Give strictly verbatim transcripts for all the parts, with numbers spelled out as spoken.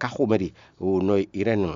ká xomɛ ɖe o nɔ Irɛnu.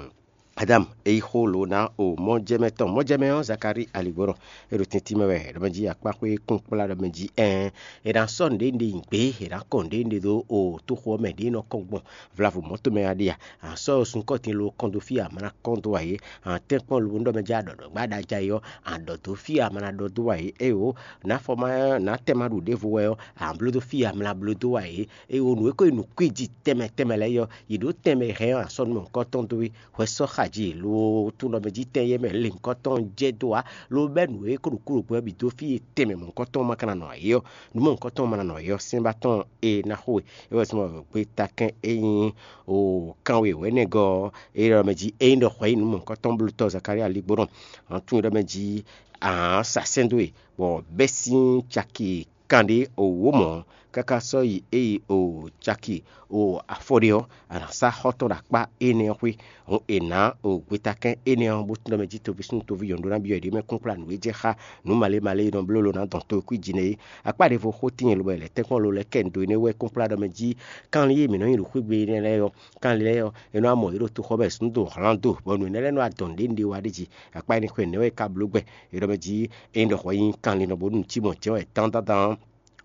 Adam e yi xo lǒ ná o mɔjɛmɛ tɔn. Mɔjɛmɛ ɔ́, Zakalíi aligbɔnɔ e ɖo tɛ́ntin mɛ wɛ ɖɔmɛ jí akpá xwé kún kplá ɖɔmɛ jí ɛn. È nǎ sɔ́ nǔɖé nyi gbě, è nǎ kɔn nǔɖé ɖé ɖó o tóxo ɔ́ mɛ ɖě nɔ kɔn gbɔn vlavo mɔ̌ tɔn mɛ wá ɖe a? A sɔ́ sunkɔ́tin lo kɔn dó fí a ma ná kɔn dó ǎ é? A tɛ́nkpɔ́n lo ɖɔmɛ jí a ɖɔ ɖɔ̌gbá ɖ'ajá é ɔ́, a ɖɔ dó fí a ma ná ɖɔ dó ǎ é? Éyo, nǎ fɔ ma nǎ tɛn ma ɖu ɖěvo wɛ ɔ́, a bló dó fí a ma ná bló dó ǎ é? Éyo, nǔ e ko nyí nǔkwíji tɛnmɛ tɛnmɛ lɛ́ɛ é ɔ́, yě ɖǒ tɛnmɛ hɛn ɔ́, a sɔ́ nú mɔ̌hunkɔtɔn dó é. Hwɛ sɔ́ xa jí lo tunɖɔmɛ jí tɛn yɛ́ mɛ lěhunkɔtɔn jɛ dó ǎ, lo bɛ́ nǔ e ko ɖo kúɖokpó ɔ́ bǐ dó fí e tɛnmɛ mɔ̌hunkɔtɔn ma ka ná nɔ ǎ é ɔ́, nǔ mɔ̌hunkɔtɔn ma ná nɔ ǎ é ɔ́, sɛ́n ba tɔn e ná xo we. É wɛ zɔ́n bɔ gbeta kɛn e nyí o kanwe wɛ̌nɛgɔ́ ɔ́, é ɖɔ mɛ jí ényí ɖɔ hwɛ nyí nǔ mɔ̌hunkɔtɔn blótɔ́ Zakalía ligbónɔ, hǎn tunwun ɖɔ mɛ jí ahǎn sa sɛ́n dó e, bɔ bɛ́ sín caki kanɖé wǒ mɔ̌ káká sɔ́ yi é yi o caki o afɔ ɖé ɔ́, a nǎ sá xɔ́ tɔn ɖo akpá énɛ́ ɔ́ xwé. Hǔn è nǎ o gbetakɛ́n énɛ́ ɔ́, bó tunwun ɖɔ mɛ jí toví súnnu toví nyɔ̌nu ɖó ná byɔ́ yě ɖě mɛ kúnkplá nǔ e jɛ xá nǔ malé malé e nɔ bló lo ná dɔn to e kwíji nɛ́ é. Akpá ɖěvo xó tíin lobɔ è lɛ̌ tɛ́nkpɔ́n lo lɛ́ kɛ nǔ dó énɛ́ wɛ kúnkplá ɖɔ mɛ jí kanlin e mǐ nɔ nyi ɖo xwé gbe énɛ́ lɛ́ɛ ɔ́, kanlin lɛ́ɛ ɔ́, è nɔ wá mɔ yě ɖo toxɔ mɛ zǔn dó hlán do, bɔ nǔ énɛ́ lɛ́ɛ nɔ wá dɔn nǔɖé nǔɖé wá ɖ'é jí. Akpá énɛ́ xwé nɛ́ wɛ é ka bló gbɛ. È ɖɔ mɛ jí ényí ɖɔ hwɛ nyí kanlin bónú nǔ cí mɔ̌ jɛ́n wɛ dán dán dán ɔ́,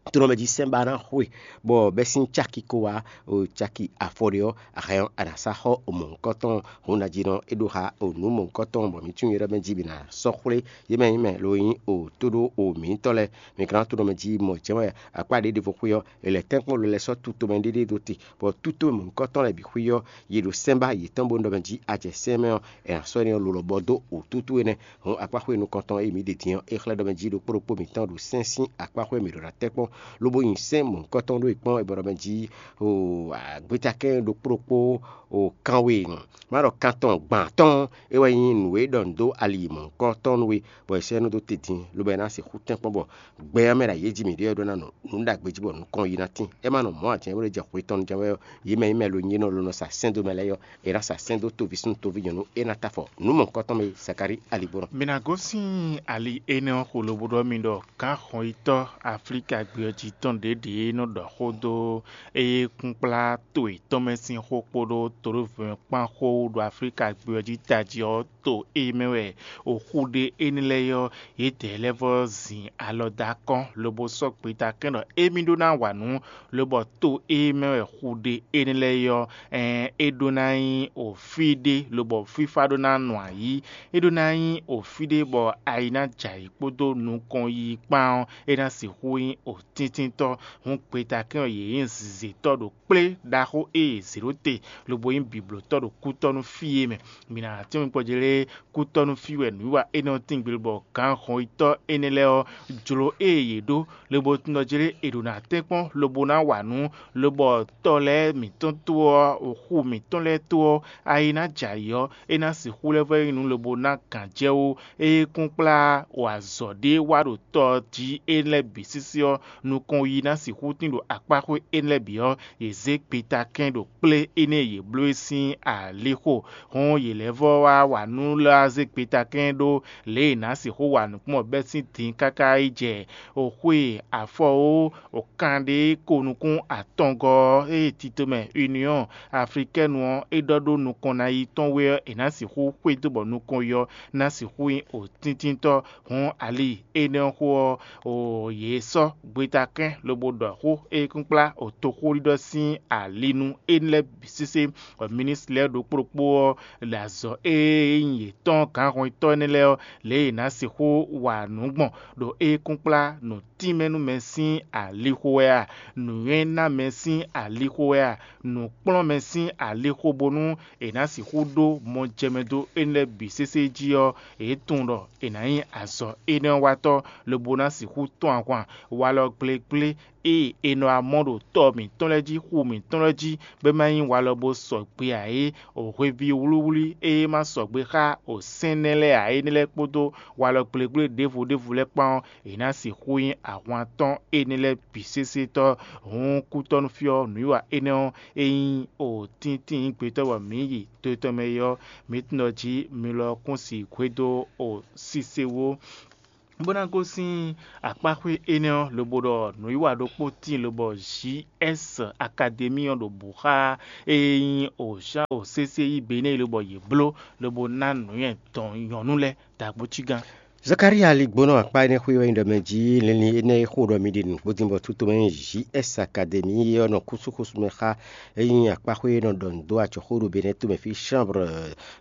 tónɔmɛ jí sɛ́n ba ná xwe, bɔ bɛ́ sín caki ko wá, o caki afɔ ɖé ɔ́, a hɛn ɔ́, a nǎ sá xɔ o mɔ̌hunkɔtɔn. Hǔn ná jí nɔ é ɖó xa o nǔ mɔ̌hunkɔtɔn, bɔ mǐ tunwun yě ɖɔ mɛ jí bǐ ná sɔ́ xwlé yě mɛ nyí mɛ lo nyí o tó ɖó o mǐtɔn lɛ́ɛ. Mi ka ná tónɔmɛ jí mɔ jɛ́n wɛ akpá ɖě ɖěvo xwé ɔ́, è lɛ̌ tɛ́nkpɔ́n lo lɛ́ɛ sɔ́ tutomɛ ɖéɖé ɖó te, bɔ tútomɛ mɔ̌hunkɔtɔn lɛ́ɛ bǐ xwí ɔ́, yě ɖo sɛ́n ba yětɔn bó nɔ mɛ jí a jɛ sɛ́n mɛ ɔ́, è nǎ sɔ́ énɛ́ ɔ́ lo lɔ bɔ dó o tútú énɛ́. Hǔn akpáxwé nukɔntɔn e mǐ ɖe din ɔ́, é xlɛ́ ɖɔ mɛ jí ɖokpó ɖokpó mǐtɔn ɖo sɛ́n sín akpáxwé mǐ ɖo ná tɛ́ kpɔ́n, lobo nyi sɛ́n mɔ̌hunkɔtɔn ɖó e kpɔ́n, è bɔ ɖɔ mɛ jí o gbétakɛ́n ɖokpó ɖokpó o kanwe má ɖɔ kantɔn gbǎn tɔn é wɛ nyí nǔ e ɖɔ nǔ dó ali mɔ̌hunkɔtɔn nú we, bɔ è sɛ́ nú dó te din, lobo è ná sixú tɛ́nkpɔ́n bɔ gbɛ ɔ́ mɛ ɖo ayǐ e jí mǐ ɖe ɔ́ ɖó ná nɔ nǔ ɖagbe jí bɔ nukɔn yi ná tín. É má nɔ mɔ̌ ǎ jɛ́n bó ɖo jɛ xwe tɔn jɛ́n wɛ ɔ́, yě mɛ nyí mɛ lo nyí nɔ lo nɔ sa sɛ́n dó mɛ lɛ́ɛ ɔ́, è nǎ sa sɛ́n dó toví súnnu toví nyɔ̌nu é ná ta afɔ nǔ mɔ̌hunkɔtɔn mɛ Zakalíi aligbɔnɔ. Mi ná gosín ali énɛ́ ɔ́ xo lobo ɖɔ mi ɖɔ gǎnxɔnyitɔ́ Aflíka gbé ɔ́ jí tɔn ɖěɖě nɔ ɖɔ xó dó éyékúnkplá to yětɔn mɛ sín xó kpódó toɖóvɔ̌ kpán xó wú ɖo Aflíka gbé ɔ́ jí tají ɔ́, to e mɛ wɛ oxu ɖe énɛ́ lɛ́ɛ ɔ́, yědɛɛ lɛ́ɛ vɔ́ zin alɔ dó akɔ́n, lobo sɔ́ gbetakɛ́n ɖɔ émí ɖó ná wa nǔ, lobɔ to e mɛ wɛ xu ɖe énɛ́ lɛ́ɛ ɔ́, ɛɛn, é ɖó ná nyí ofí ɖé, lobɔ fífá ɖó ná nɔ ayǐ. É ɖó ná nyí ofí ɖé bɔ ayi ná jɛ ayǐ kpódó nukɔn yiyi kpán ɔ́, é ná sixú nyí otíntíntɔ́. Hǔn gbetakɛ́n ɔ́, yě nyí zǐzétɔ́ ɖo kplé ɖaxó e yě zě ɖó te, lobo nyí biblǒtɔ́ ɖo kútɔ́ nú fí e mɛ. Mi ná tɛ́nmɛ kpɔ́ jlé kútɔ́ nú fí wɛ nǔwiwa énɛ́ ɔ́ tíngbé, bɔ gǎnxɔnyitɔ́ énɛ́ lɛ́ɛ ɔ́ jló ée yě ɖó, lobo tunwun ɖɔ jlé è ɖǒ ná tɛ́nkpɔ́n lobo ná wa nǔ, lobɔ tɔ lɛ́ɛ mǐtɔn tó ɔ́, xu mǐtɔn lɛ́ɛ tó ɔ́, ayi ná jɛ ayǐ ɔ́, é ná sixú lɛ́ vɔ́ nyí nǔ lobo ná gǎn jɛ wú. Ée kún kplá wa azɔ̌ ɖé wá ɖo tɔ jí énɛ́ lɛ́ɛ bǐ sísí ɔ́, nukɔn yi ná sixú tín ɖo akpáxwé énɛ́ lɛ́ɛ bǐ ɔ́, yě zé gbetakɛ́n ɖo kplé énɛ́ e yě bló é sín alixo. Hɔn yě lɛ́ vɔ́ wá wa nǔ lɛ́ wá zé gbetakɛ́n ɖó lě e è nǎ sixú wa nǔkpɔ́n bɛ́ sín din káká yi jɛ xwe afɔ ó, kanɖé ko nukún atɔngɔ́ ɔ́, ée titomɛ Union Africaine ɔ́ é ɖɔ ɖó nukɔn ná yi tɔn wɛ ɔ́, è nǎ sixú xwedó bɔ nukɔn yi ɔ́ ná sixú nyí otíntíntɔ́. Hɔn ali énɛ́ ɔ́ xó ɔ́, o yě sɔ́ gbetakɛ́n lobo ɖɔ xó e kúnkplá o toxóɖiɖɔ sín ali nú énɛ́ lɛ́ɛ bǐ sésé. Bɔ minisitiri lɛ́ɛ ɖokpó ɖokpó ɔ́ ɖo azɔ̌ e nyí yětɔn gǎnhɔnyitɔ́ énɛ́ lɛ́ɛ ɔ́, lě e è nǎ sixú wa nǔ gbɔn ɖo é kúnkplá nǔ tínmɛ nú mɛ sín alixo wɛ a? Nǔnywɛ́ ná mɛ sín alixo wɛ a? Nǔ kplɔ́n mɛ sín alixo bónú è nǎ sixú ɖó mɔjɛmɛ dó énɛ́ lɛ́ɛ bǐ sésé jí ɔ́, è tunwun ɖɔ è nǎ nyí azɔ̌ énɛ́ ɔ́ watɔ́, lobo ná sixú tɔ́n ahwan walɔ gblégblé e è nɔ wá mɔ ɖo tɔ mǐtɔn lɛ́ɛ jí, xu mǐtɔn lɛ́ɛ jí, bɔ é ma nyí walɔ bó sɔgbe ǎ é, o hweví wlíwlí e ma sɔgbe xá o sɛ́n nɛ́ lɛ́ɛ ǎ énɛ́ lɛ́ɛ kpódó walɔ gblégblé ɖěvo ɖěvo lɛ́ɛ kpán ɔ́, è nǎ sixú nyí ahwan tɔn énɛ́ lɛ́ɛ bǐ sésé tɔ́. Hǔn kútɔ́núfí ɔ́, nǔwiwa énɛ́ ɔ́, é nyí o tíntín gbetɔ́ bɔ mǐ yi to tɔn mɛ é ɔ́, mǐ tunwun ɖɔ jí mi lɔ kún si hwedó o sísewó. Bó ná gosín akpáxwé énɛ́ ɔ́, lobo ɖɔ nǔwiwa ɖokpó tíin lobɔ J S Akademi ɔ́ ɖo bǔ xá e nyí Ojan o sésé yí Benɛ́ɛ lobɔ yě bló lobo ná nǔnywɛ́ dɔn nyɔ̌nu lɛ́ɛ dǎgbó cígán. Zakalía ligbónɔ akpá énɛ́ xwé wɛ nyí ɖɔ mɛ jí linlin énɛ́ e xo ɖɔ mi ɖi nǔgbó dín bɔ tútomɛ nyí J S Akademi ɔ́ nɔ kúsúkúsú mɛ xá e nyí akpáxwé e nɔ ɖɔ nǔ dó acɔxó ɖo Benɛ́ tomɛ fí chambre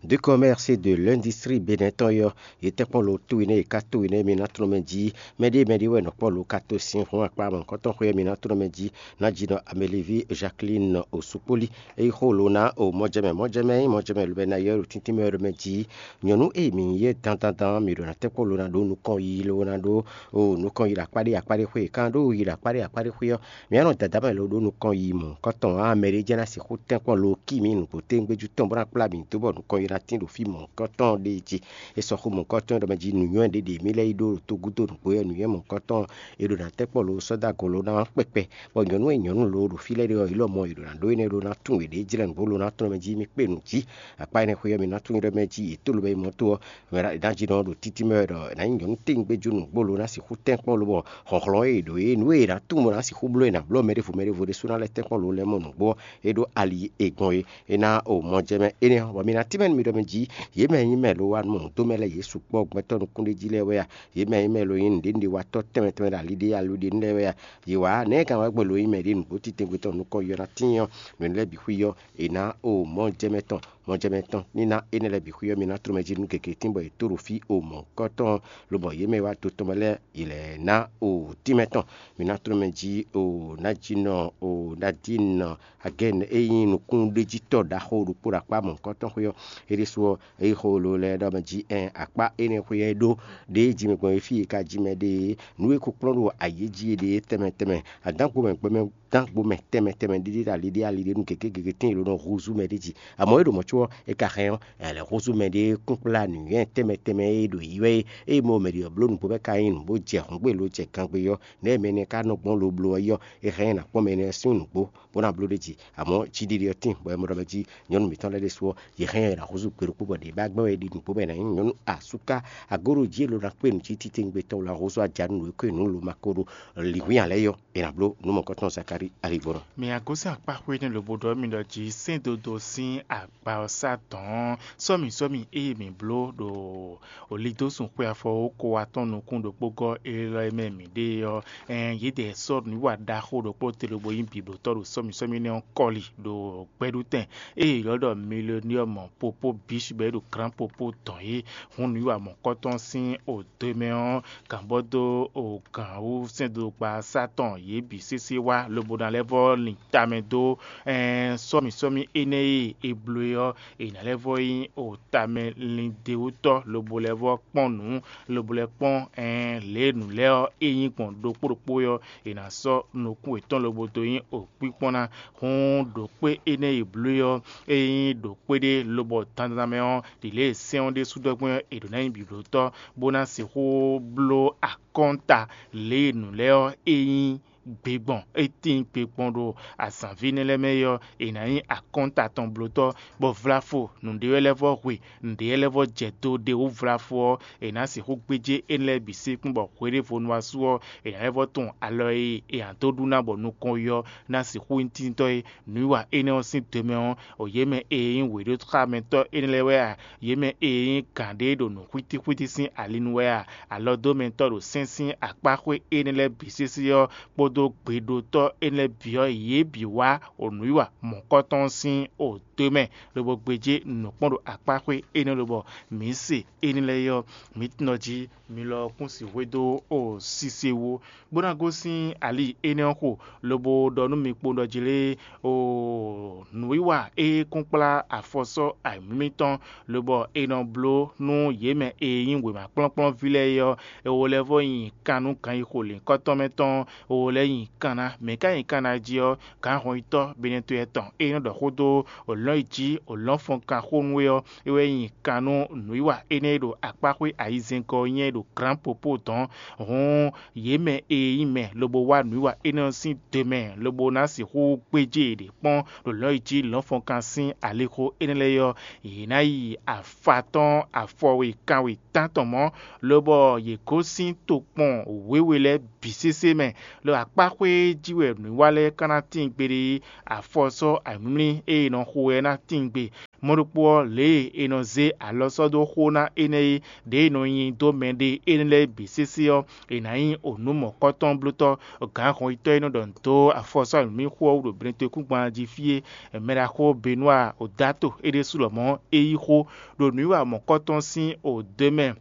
de commerce de l'industrie Benɛ́ tɔn é ɔ́, yě tɛ́nkpɔ́n lo towe nɛ́, yě ká towe nɛ́, mi ná tlɔ́n mɛ jí. Mɛɖée mɛɖée wɛ nɔ kpɔ́ lo ka to sin hɔn akpá mɔ̌hunkɔtɔn xwé ɔ́, mi ná tlɔ́n mɛ jí. Ná jí nɔ Amelivie Jacqueline Osukpoli, é yí xó lo ná o mɔjɛmɛ. Mɔjɛmɛ nyí mɔjɛmɛ lubɛ ná yɔ́ ɖo tíntín mɛ wɛ ɖo mɛ jí. Nyɔ̌nu e mǐ nyí é dandandan, mǐ ɖo ná tɛ́nkpɔ́n lo ná ɖó nukɔn yiyi lo ná ɖó o nukɔn yi ɖo akpá ɖé akpá ɖé xwé. Kan ɖó yi ɖo akpá ɖé akpá ɖé xwé ɔ́, mǐ nɔ dada mɛ lo ɖó nukɔn yi mɔ̌hunkɔtɔn ǎ. Mɛ ɖé jɛ́n ná sixú tɛ́nkpɔ́n lo kí mǐ nǔgbó téŋgbéjú tɔn bó ná kplá mǐ dó bɔ nukɔn yi ná tín ɖo fí mɔ̌hunkɔtɔn ɖé jí. É sɔ́ xó mɔ̌hunkɔtɔn ɖɔ mɛ jí nǔnywɛ́ ɖé ɖě mǐ lɛ́ yí ɖó ɖo togúdo nǔgbó ɔ́, nǔnywɛ́ mɔ̌hunkɔtɔn è ɖo ná tɛ́nkpɔ́n lo sɔ́ dó agɔ̌ lo ná kpɛkpɛ, bɔ nyɔ̌nu e nyɔ̌nu lo ɖo fí lɛ́ɛ ɖé ɔ́, yě lɔmɔ̌ è ɖo ná ɖó énɛ́ ɖó ná tunwun yěɖée jlɛ́ nǔgbó lo ná tlɔ́n mɛ jí mì kpé nǔ jí. Akpá énɛ́ xwé ɔ́, mi ná tunwun ɖɔ mɛ jí yě tó lo bɔ é mɔ tó ɔ́, mɛ ná jí nɔ ɖo títí mɛ wɛ ɖɔ è nǎ nyí nyɔ̌nu téŋgbéjú nǔgbó lo ná sixú tɛ́nkpɔ́n lobɔ hlɔ̌nhlɔ́n e è ɖǒ é nǔ e è nǎ tunwun bɔ ná sixú bló è nǎ blɔ́ mɛɖěvo mɛɖěvo ɖésú ná lɛ́ tɛ́nkpɔ́n lo lɛ́ɛ mɔ nǔgbó ɔ́, é ɖó ali e gbɔn é. É ná o mɔ jɛ mɛ énɛ́ ɔ́, bɔ mi ná tínmɛ nú mi ɖɔ mɛ jí, yě mɛ e nyí mɛ lo wá mɔ dó mɛ lɛ́ɛ yě sukpɔ́ gbɛtɔ́ nukúnɖéjí lɛ́ɛ wɛ a? Yě mɛ e nyí mɛ lo nyí nǔɖénúɖéwatɔ́ tɛnmɛ tɛnmɛ ɖo ali ɖé alu ɖé nú lɛ́ɛ wɛ a? Yě wá nɛ̌ gǎn wɛ gbɔn lo nyí mɛ ɖě nǔgbó titewungbe tɔn nukɔn yɔ ná tíin ɔ́, nǔ énɛ́ lɛ́ɛ bǐ xwí ɔ́, è nǎ o mɔjɛmɛ tɔn. Mɔjɛmɛ tɔn ní ná énɛ́ lɛ́ɛ bǐ xwí ɔ́, mi ná tló mɛ jí nú gěgé tín bɔ è tó ɖo fí o mɔ̌hunkɔtɔn, lobɔ yě mɛ e wá do tɔn mɛ lɛ́ɛ yě lɛ́ ná o tínmɛ tɔn. Mi ná tló mɛ jí o ná jí nɔ o ná jí nɔ agɛn e nyí nukúnɖéjítɔ́ ɖaxó ɖokpó ɖo akpá mɔ̌hunkɔtɔn xwé ɔ́, é ɖésú ɔ́, é xo lo lɛ́ɛ ɖɔ mɛ jí ɛn akpá énɛ́ xwé ɔ́ é ɖó ɖěe jí mi gbɔn é fí e ka jí mɛ ɖe é, nǔ e ko kplɔ́n ɖo ayǐ jí é ɖe é tɛnmɛ tɛnmɛ, adǎngbomɛ gbɛmɛ dán gbo mɛ tɛnmɛ tɛnmɛ ɖiɖi ɖo ali ɖé ali ɖé nú gěgé gěgé tíin è ɖo nɔ húzú mɛ ɖé jí. Amɔ̌ é ɖo mɔ̌ có ɔ́, é ka hɛn ɔ́, è lɛ̌ húzú mɛ ɖé kúnkplá nǔnywɛ́ tɛnmɛ tɛnmɛ e ɖo yí wɛ é. Ée mɔ mɛ ɖě ɔ́ bló nǔgbó bɔ é ka nyí nǔ bó jɛ hǔngbé lo jɛ gangbé ɔ́, nɛ̌ mɛ énɛ́ ka nɔ gbɔn lo bló ɔ́ yi ɔ́, é hɛn ɛ ná kpɔ́n mɛ énɛ́ sín nǔgbó bó ná bló ɖ'é jí. Amɔ̌ jíɖiɖi ɔ́ tíin bɔ è mɔ ɖɔ mɛ jí nyɔ̌nu mǐtɔn lɛ́ɛ ɖésú ɔ́, yě hɛn ɛ ná húzú gbe ɖokpó bɔ ɖě ba gbɛ́ wɛ é ɖi nǔgbó bɔ è nǎ nyí nyɔ̌nu asúká agóɖo jí e lo ná kpé nǔ jí titewungbe tɔn wla húzú aja nú nǔ e kó è nǔ lo ma ko ɖo lǐnhwín ǎ lɛ́ɛ yɔ. È nǎ bló nǔ mɔ̌hunkɔtɔn Zakalíi alǐgbɔ́nɔ. Mi agosín akpáxwé énɛ́ lobo ɖɔ mì ɖɔ jí sɛ́n dodó sín akpa ɔ́ sá dɔ̌n sɔ́mi sɔ́mi ée mǐ bló ɖo olidósun xwe afɔ ko atɔn nukún ɖokpó gɔ́ élɔ́ e mɛ mǐ ɖe ɔ́, ɛn yědɛɛ sɔ́ nǔwiwa ɖaxó ɖokpó te lobo nyí bǐblótɔ́ ɖo sɔ́mi sɔ́mi énɛ́ ɔ́ kɔli ɖo gbɛɖutɛn ée è ylɔ́ ɖɔ miloniɔ́mɔ popó bǐ bɔ é ɖo glǎn popó dɔn é. Hun nǔwiwa mɔ̌kɔtɔn sín odwe mɛ ɔ́, gǎnbɔ́ dó o gǎn wú sɛ́ndodokpa sá tɔn yě bǐ sésé wá lobo ná lɛ́ vɔ́ lin tamɛ dó ɛn sɔ́mi sɔ́mi énɛ́ e è bló é ɔ́, è nǎ lɛ́ vɔ́ nyí o tamɛ lindewútɔ́ lobo lɛ́ vɔ́ kpɔ́n nǔ lobo lɛ́ kpɔ́n ɛn lě e nǔ lɛ́ɛ ɔ́ é nyí gbɔn ɖokpó ɖokpó é ɔ́, è nǎ sɔ́ nukún yětɔn lobo dó nyí okpíkpɔ́n ná. Hǔn ɖo kpé énɛ́ e è bló é ɔ́, é nyí ɖo kpé ɖé lobɔ dandan mɛ ɔ́, ɖi lě e sɛ́n ɔ́ ɖésú ɖɔ gbɔn ɔ́, è ɖǒ ná nyí bǐblótɔ́ bó ná sixú bló akɔ́nta lě e nǔ lɛ́ɛ ɔ́ é nyí gbe gbɔn. É tíin gbe gbɔn ɖo azǎnví énɛ́ lɛ́ɛ mɛ é ɔ́, è nǎ nyí akɔ́nta tɔn blótɔ́, bɔ vlafo nǔɖé wɛ lɛ́ vɔ́ hwe, nǔɖé wɛ lɛ́ vɔ́ jɛ do ɖe wú vlafo ɔ́, è nǎ sixú gbéjé énɛ́ lɛ́ɛ bǐ sí kún bɔ hweɖěvo nu wá su ɔ́, è nǎ lɛ́ vɔ́ tunwun alɔ e è nǎ dó ɖu ná bɔ nukɔn yi ɔ́ ná sixú nyí tíntɔ́ é. Nǔwiwa énɛ́ ɔ́ sín do mɛ ɔ́, o yě mɛ e nyí wěɖóxámɛtɔ́ énɛ́ lɛ́ɛ wɛ a? Yě mɛ e nyí gǎn ɖé ɖo nǔ xwítíxwítí sín ali nu wɛ a? Alɔdómɛtɔ́ ɖo sɛ́n sín akpáxwé énɛ́ lɛ́ɛ bǐ sésé ɔ́ kpódó gbeɖotɔ́ énɛ́ lɛ́ɛ bǐ ɔ́, yě bǐ wá o nǔwiwa mɔ̌kɔtɔn sín o do mɛ, lobo gbéjé nǔ kpɔ́n ɖo akpáxwé énɛ́ lobɔ mǐ se énɛ́ lɛ́ɛ é ɔ́, mǐ tunɔ jí mi lɔ kún sixú xwedó o sise wú, bó ná gosín ali énɛ́ ɔ́ xo, lobo ɖɔ nú mi kpowun ɖɔ jí lé, o nǔwiwa e kún kplá afɔ sɔ́ ayǐmlí mitɔn, lobɔ è nɔ bló nú yě mɛ e nyí wěma kplɔ́nkplɔ́nví lɛ́ɛ é ɔ́, è wo lɛ́ vɔ́ nyi kan nú ganyixo lǐnkɔ́tɔn mɛ tɔn, è wo lɛ́ nyi kan ná. Mɛ̌ ka nyi kan ná jí ɔ́, gǎnhɔnyitɔ́ Benɛto yɛtɔn e nɔ ɖɔ xó dó òlɔ́n yi jí òlɔ́n fɔnkan xó nú é ɔ́, é wɛ nyi kan nú nǔwiwa énɛ́ e ɖo akpáxwé ayizɛ́ngɔ́ ɔ́ nyɛ ɖo Glǎnpopó dɔ̌n. Hǔn yě mɛ e nyí mɛ lobo wá nǔwiwa énɛ́ ɔ́ sín do mɛ lobo ná sixú gbéjé yě ɖě kpɔ́n ɖo lɔ̌ yi jí lɔ̌nfɔnkan sín alixo énɛ́ lɛ́ɛ ɔ́, yě ná yi afa tɔn afɔwe kanwe tántɔn mɔ̌, lobɔ yě gosín tokpɔn wěwe lɛ́ɛ bǐ sésé mɛ. Lo akpáxwé jí wɛ nǔwiwa lɛ́ɛ ka ná tíin gbeɖé é, afɔ sɔ́ ayǐmlí e è nɔ xo wɛ ná tíin gbe. Mɔ̌ ɖokpó ɔ́, lě e è nɔ zé alɔ sɔ́ dó xó ná énɛ́ é, ɖěe è nɔ nyi dó mɛɖé énɛ́ lɛ́ɛ bǐ sésé ɔ́, è nǎ nyí onǔ mɔ̌kɔ́tɔ́blótɔ́. Gǎnhɔnyitɔ́ e nɔ ɖɔ nǔ dó afɔsɔ́ nǔmíxó ɔ́ wú ɖo Blɛntekúngban jí fí é, Mɛɖaxó Benúa Odato é ɖésú lɔmɔ̌ é yí xó ɖo nǔwiwa mɔ̌kɔ́tɔn sín odǒ mɛ,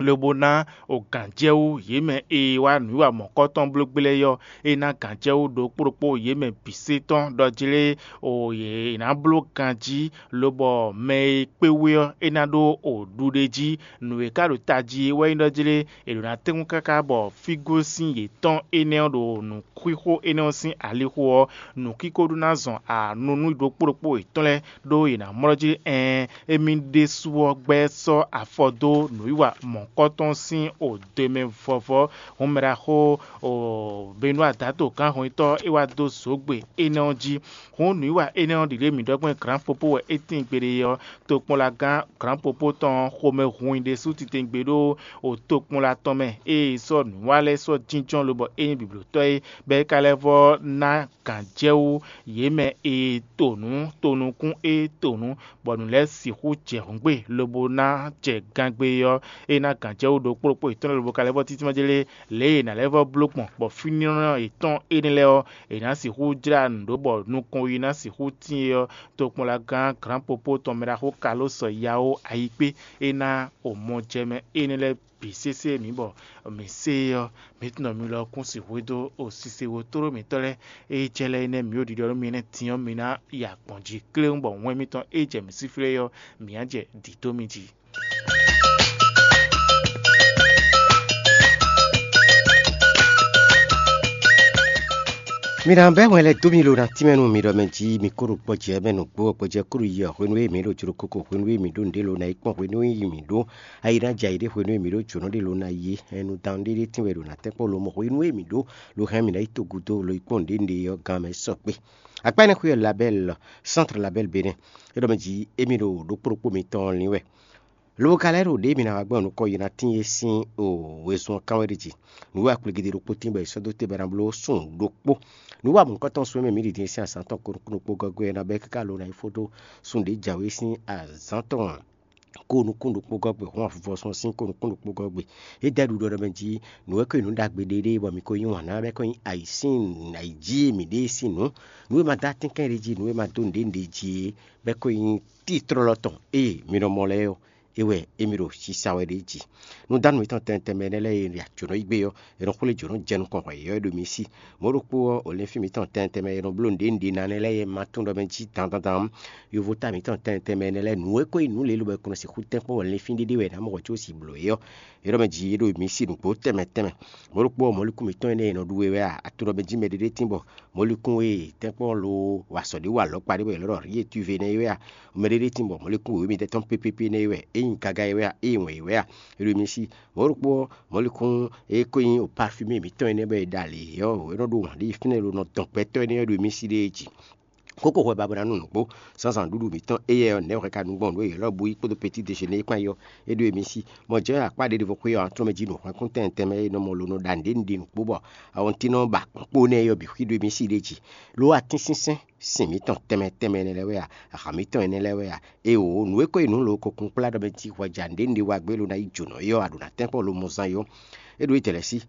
lobo ná ogǎnjɛwú yě mɛ e wá nǔwiwa mɔ̌kɔ́tɔn bló gbé lɛ́ɛ é ɔ́, é ná gǎnjɛwú ɖokpó ɖokpó yě mɛ bǐ sé tɔn ɖɔ jlé o yě ná bló ganjí, lobɔ mɛ e kpé wú é ɔ́, é ná ɖó o ɖuɖéjí. Nǔ e ka ɖo tají é wɛ nyí ɖɔ jlé è ɖǒ ná tɛ́nkpɔ́n káká bɔ fígósin yětɔn énɛ́ ɔ́ ɖo nǔxixo énɛ́ ɔ́ sín alixo ɔ́, nǔkíko ɖó ná zɔn anu nú ɖokpó ɖokpó yětɔn lɛ́ɛ, ɖó yě ná mlɔ́ jí. Ɛɛn, émí ɖésú ɔ́ gbɛ́ sɔ́ afɔ dó nǔwiwa mɔ̌kɔ́tɔn sín odǒ mɛ vɔvɔ. Hǔn mɛ ɖaxó Benúa Dato gǎnhɔnyitɔ́ é wá dó zǒgbe énɛ́ ɔ́ jí. Hǔn nǔwiwa énɛ́ ɔ́ ɖi ɖě mǐ ɖɔ gbɔn glǎnpopo wɛ é tíin gbeɖé ɔ́, tokpɔnlagán glǎnpopo tɔn ɔ́ xomɛ hun i ɖésú titewungbe ɖó o tokpɔnla tɔn mɛ, ée è sɔ́ nǔwiwa lɛ́ɛ sɔ́ jínjɔ́n lobɔ é nyí biblotɔ́ é, bɔ é ka lɛ́ vɔ́ ná gǎnjɛwú yě mɛ e to nǔ tonukún e to nǔ, bɔ nǔ lɛ́ɛ sixú jɛ hǔngbe lobo ná jɛ gangbe ɔ́, é ná gǎnjɛwú ɖokpó ɖokpó yětɔn lɛ́ɛ lobo ka lɛ́ vɔ́ títí ma jlé lě e è nǎ lɛ́ vɔ́ bló gbɔn, bɔ fínnyɔ́nnɔ yětɔn énɛ́ lɛ́ɛ ɔ́, è nǎ sixú jlá nǔ ɖó bɔ nukɔn yi ná sixú tíin é ɔ́, tokpɔnlagán glǎnpopo tɔn mɛ ɖaxó Kalósɔ Yaó Ayikpé é ná o mɔjɛmɛ énɛ́ lɛ́ɛ bǐ sésé mǐ bɔ mǐ se é ɔ́, mǐ tunɔ mi lɔ kún sixú dó o sise wo tló mǐtɔn lɛ́ɛ e jɛ lɛ́ɛ énɛ́ mǐ ɖo ɖiɖɔ nú mi énɛ́ din ɔ́, mi ná yi agbɔ̌n jí kléwún bɔ wɛn mitɔn e jɛ mǐ síflé é ɔ́, mǐ ná jɛ dǐ dó mi jí. Mi ná bɛ́ wɛn lɛ́ɛ dó mi lo ná tínmɛ nú mi ɖɔ mɛ jí mi kó ɖo gbɔjɛ́ mɛ nǔgbó gbɔjɛ́ kúɖu yi ɔ hwenu e mǐ ɖo jló koko hwenu e mǐ ɖo nǔɖé lo ná yi kpɔ́n hwenu e mǐ ɖó ayi ná jɛ ayǐ ɖé hwenu e mǐ ɖó jǒnɔ ɖé lo ná yi é. Ɛnu dan ɖéɖé tínwɛ ɖo ná tɛ́nkpɔ́n lomɔ̌ hwenu e mǐ ɖó lo hɛn mǐ ná yi togudo lo yi kpɔ́n nǔɖé nǔɖé ɔ́ gán mɛ sɔgbe. Akpá énɛ́ xwé ɔ́ labɛ́l sɛ́ntr labɛ́l benɛ́ é ɖɔ mɛ jí émí ɖo ɖokpó ɖokpó mitɔn lin wɛ. Lobo ka lɛ́ ɖo ɖěe mǐ ná wá gbɔn nukɔn yi ná tín é sín wezun ɔ́ kán wɛ ɖi jí. Nǔ e akpligidi ɖokpó tín bɔ è sɔ́ dó te bɔ è nǎ bló sun ɖokpó. Nǔ wa mɔ̌hunkɔtɔn sun e mɛ mǐ ɖi din sín azǎn tɔn ko nukún ɖokpó gɔ́ gbe ɔ́ ná bɛ́ káká lo ná yi fó dó sun ɖě jǎwe sín azǎn tɔn ko nukún ɖokpó gɔ́ gbe hɔn avuvɔsɔn sín ko nukún ɖokpó gɔ́ gbe. É dɛ́ ɖuɖɔ ɖɔ mɛ jí nǔ e ko nyí nǔ ɖagbe ɖéɖé bɔ mǐ ko yí wǎn ná bɛ́ ko nyí ayǐ sín ayǐ jí e mǐ ɖe é sín nǔ. Nǔ e ma dó atínkɛn ɖé jí, nǔ e ma dó nǔɖé nǔɖé jí é bɛ́ ko nyí títlɔ́lɔ́ tɔn e mǐ nɔ mɔ lɛ́ɛ ɔ́, é wɛ émí ɖo sisa wɛ ɖ'é jí. Nǔdánu mǐtɔn tɛnmɛ tɛnmɛ énɛ́ lɛ́ɛ e è jǒnɔ yí gbé ɔ́, è nɔ xwlé jǒnɔ jɛ nukɔn hwɛ yɔ́yɔ́ ɖo mi sí. Mɔ̌ ɖokpó ɔ́, olɛ́nfín mǐtɔn tɛnmɛ tɛnmɛ e nɔ bló nǔɖé nǔɖé ná nɛ́ lɛ́ɛ e ma tunwun ɖɔ mɛ jí dandan dan ɔ́, yovo ta mǐtɔn tɛnmɛ tɛnmɛ énɛ́ lɛ́ɛ nǔ e ko nyí nǔ lě lobo è ko nɔ sixú tɛ́nkpɔ́n olɛ́nfín ɖé ɖé wɛ è nǎ mɔ hwɛ có si blǒ é ɔ́, é ɖɔ mɛ jí é ɖo mi sí nǔgbó tɛnmɛ tɛnmɛ. Mɔ̌ ɖokpó ɔ́, mɔ̌likún mǐtɔn énɛ́ e è nɔ ɖu é wɛ a? A tunwun ɖɔ mɛ jí mɛɖé ɖé tínbɔ mɔ̌likún e tɛ́nkpɔ́n lo wa sɔ ɖě wa lɔ̌kpa ɖé bɔ è lɔ̌ ɖɔ riyetuve nɛ́ é wɛ a? Mɛɖé ɖé tínbɔ mɔ̌likún wěwé mitɔn pépépé nɛ́ é wɛ, é nyí gaga é wɛ a? É nyí wɛn é wɛ a? É ɖo mi sí. Mɔ̌ ɖokpó ɔ́, mɔ̌likún e ko nyí o parfumé mǐtɔn énɛ́ bɔ è ɖa lě ɔ́, é nɔ ɖó wǎn ɖé fínɛ́ lo nɔ dɔn gbɛtɔ́ énɛ́ ɔ́ ɖo mi sí ɖéé jí. Kókó hwɛ ba bó ná nu nǔgbó, zǎnzǎn ɖuɖu mǐtɔn éyɛ́ ɔ́, nɛ̌ hwɛ ka nu gbɔn nǔ e yě lɔ́ bú yí kpódó petit déjeuner kpán yi ɔ́, é ɖó mi sí. Mɔ jɛ́n akpá ɖěɖěvo xwé ɔ́, a tlɔ́ mɛ jí nǔhwɛ́nkún tɛnmɛ tɛnmɛ e nɔ mɔ lo nɔ ɖa nǔɖé nǔɖé nǔkpó bɔ awɔntín nɔ ba kpó nɛ́ é ɔ́ bǐ xwí ɖó mi sí ɖéé jí. Lo atínsínsɛ́n sin mǐtɔn tɛnmɛ tɛnmɛ énɛ́ lɛ́ɛ wɛ a? Aha mǐtɔn énɛ́ lɛ́ɛ wɛ a? Éeǒ, nǔ e ko nyí nǔ lo ko kunkplá ɖɔ mɛ jí hwɛ ja nǔɖé nǔɖé wa gbé lo ná yi jǒnɔ é ɔ́, a ɖǒ ná tɛ́nkpɔ́n lo mɔ zán é ɔ́, é ɖó yi tɛlɛ̌ sí.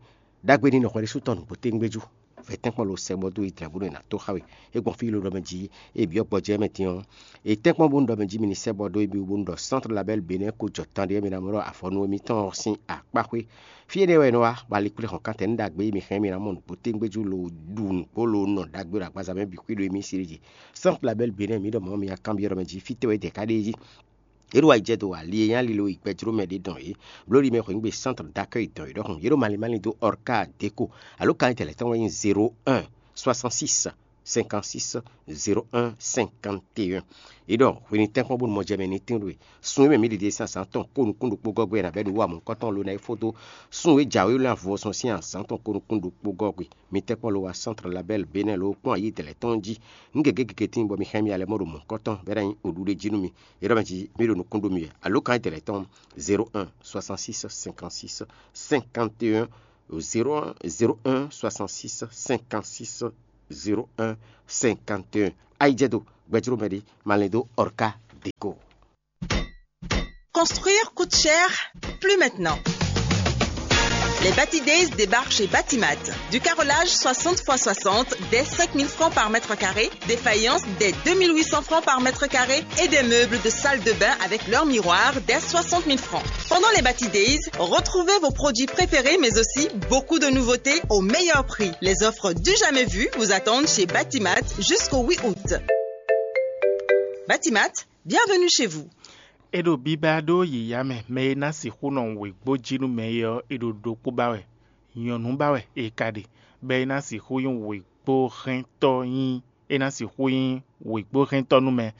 Ɖagbe ní nɔ hwɛ ɖésú tɔn nǔgbó téŋgbéjú, vɛ̌ tɛ́nkpɔ́n lo sɛ bɔ dó yi dlɛ̌ bónú è nǎ tó xá we. É gbɔn fí lo ɖɔ mɛ jí, é byɔ́ gbɔjɛ́ mɛ din ɔ́, è tɛ́nkpɔ́n bónú ɖɔ mɛ jí mi ní sɛ bɔ dó émí wú bónú ɖɔ Centre Label Bénin ko jɔ tán ɖé mi ná mɔ ɖɔ afɔnú émítɔn ɔ́ sín akpá xwé. Fí énɛ́ wɛ è nɔ wá, bɔ ali kplé hɔn kántɛn nú ɖagbe e mi hɛn mi ná mɔ nǔgbó tégbéjú lo ɖu nǔgbó lo nɔ ɖagbe ɖo agbaza mɛ bǐ xwí ɖo émí sí ɖé jí. Centre Label Bénin mǐ ɖɔ mɔ̌ mi ná kanbyɔ́ ɖɔ mɛ jí fítɛ́ wɛ é dɛ ká ɖe é jí. Yě ɖo ayijɛ dó ali e nyí alilo yi gbɛjló mɛ ɖé dɔn é. Bló ɖi mɛ xweyǐgbe centre d'accueil dɔn é ɖɔhun. Yě ɖo malín malín dó Orca Deco. Alo kan tɛlɛ tɔn wɛ nyí zéro un soixante-six cinquante-six zéro un cinquante et un. Yě ɖɔ hwenu tɛ́nkpɔ́n bónú mɔ jɛ mɛ ní tín ɖo e. Sun e mɛ mǐ ɖiɖe sín azǎn tɔn kó nukún ɖokpó gɔ́gbɛ́ ná bɛ́ ɖo wú amɔ̌kɔ́tɔn lo ná é fó dó. Sun e jǎwe lɛ́ avɔ sɔn sín azǎn tɔn kó nukún ɖokpó gɔ́gbɛ́. Mi tɛ́nkpɔ́n lo wá centre label Bénin lo kpɔ́n ayǐ dɛ̌lɛ́ tɔn jí. Nǔ gěgé gěgé tíin bɔ mi hɛn mì alɛ mɔ ɖo mɔ̌kɔ́tɔn bɛ́ ná nyí oɖu ɖé jí nú mi. É ɖɔ mɛ jí mí ɖo nukún ɖó mi wɛ. Alo kan dɛ̌lɛ́ tɔn zéro un soixante-six cinquante-six cinquante et un, zéro un soixante-six cinquante-six zéro un cinquante et un. Ayijɛ dó gbɛjló mɛ ɖé malɛn dó Orca Deco. Construire coûte cher, plus maintenant. Les Bati Days débarquent chez Batimat. Du carrelage soixante fois soixante dès cinq mille francs par mètre carré, des faïences dès deux mille huit cents francs par mètre carré et des meubles de salle de bain avec leur miroir dès soixante mille francs. Pendant les Bati Days, retrouvez vos produits préférés mais aussi beaucoup de nouveautés au meilleur prix. Les offres du jamais vues vous attendent chez Batimat jusqu'au huit août. Batimat, bienvenue chez vous. É ɖo bíbá ɖó yǐyá mɛ, mɛ e ná sixú nɔ wěgbó jí nú mɛ é ɔ́, é ɖo ɖokpó ba wɛ, nyɔ̌nu ba wɛ è ka ɖe, bɔ é ná sixú nyí wěgbóhɛntɔ́ nyí é ná sixú nyí wěgbóhɛntɔ́ nú mɛ.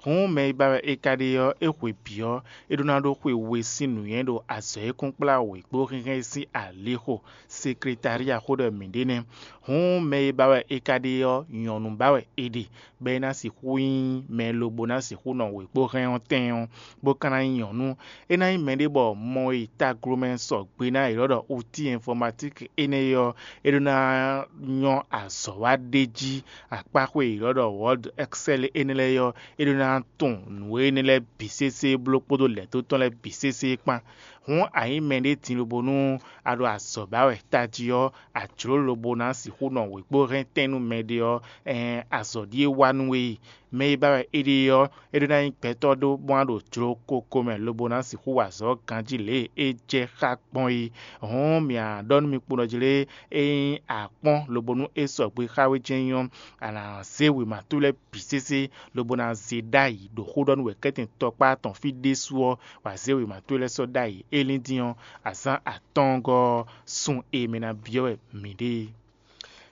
Hǔn mɛ e ba wɛ è ka ɖe ɔ́, é xwe bǐ ɔ́, é ɖó ná ɖó xwe we sín nǔnywɛ́ ɖo azɔ̌ e kún kplá wěgbóhɛnhɛn sín alixo, sekletália xó ɖɔ mǐ ɖe nɛ́. Hǔn mɛ e ba wɛ è ka ɖe ɔ́, nyɔ̌nu ba wɛ è ɖe, bɔ é ná sixú nyí mɛ lobo ná sixú nɔ wěgbóhɛn ɔ́ tɛn ɔ́, bó ka ná nyí nyɔ̌nu. É ná nyí mɛɖé bɔ mɔ e taglomɛ sɔgbe ná yě ɖɔ ɖɔ outil informatique énɛ́ ɔ́, é ɖó ná nyɔ́ azɔ̌ wa ɖ'é jí. Akpáxwé e yě ɖɔ ɖɔ Word Excel énɛ́ lɛ́ɛ ɔ́, é ɖó ná tunwun nǔ énɛ́ lɛ́ɛ bǐ sésé bló kpódó lɛ̌ dó tɔn lɛ́ɛ bǐ sésé kpán. Hǔn a nyǐ mɛɖé din lobo nú a ɖo azɔ̌ ba wɛ tají ɔ́, a jlǒ lobo ná sixú nɔ wěgbó hɛn tɛ́n nú mɛɖé ɔ́, ɛɛn azɔ̌ ɖíe wa nú we e. Mɛ e ba wɛ é ɖe ɔ́, é ɖó ná nyí gbɛtɔ́ ɖó bó ná ɖo jló koko mɛ lobo ná sixú wa azɔ̌ ganjí lě e é jɛ xá gbɔn é. Hǔn mǐ a ɖɔ nú mi kpo nɔ jlé, ényí a kpɔ́n lobo nú é sɔgbe xá we jɛ́n nyí ɔ́, a nǎ zé wěma towe lɛ́ɛ bǐ sésé, lobo ná zé ɖ'ayǐ ɖo xó ɖɔ nú wɛ kɛ́tɛn tɔkpá tɔn fí ɖésú ɔ́, wǎ zé wěma towe lɛ́ɛ sɔ́ ɖ'ayǐ. É lín dín ɔ́, azǎn atɔ́ɔ́ngɔ́ ɔ́, sun e mɛ ná byɔ́ wɛ mǐ ɖe é.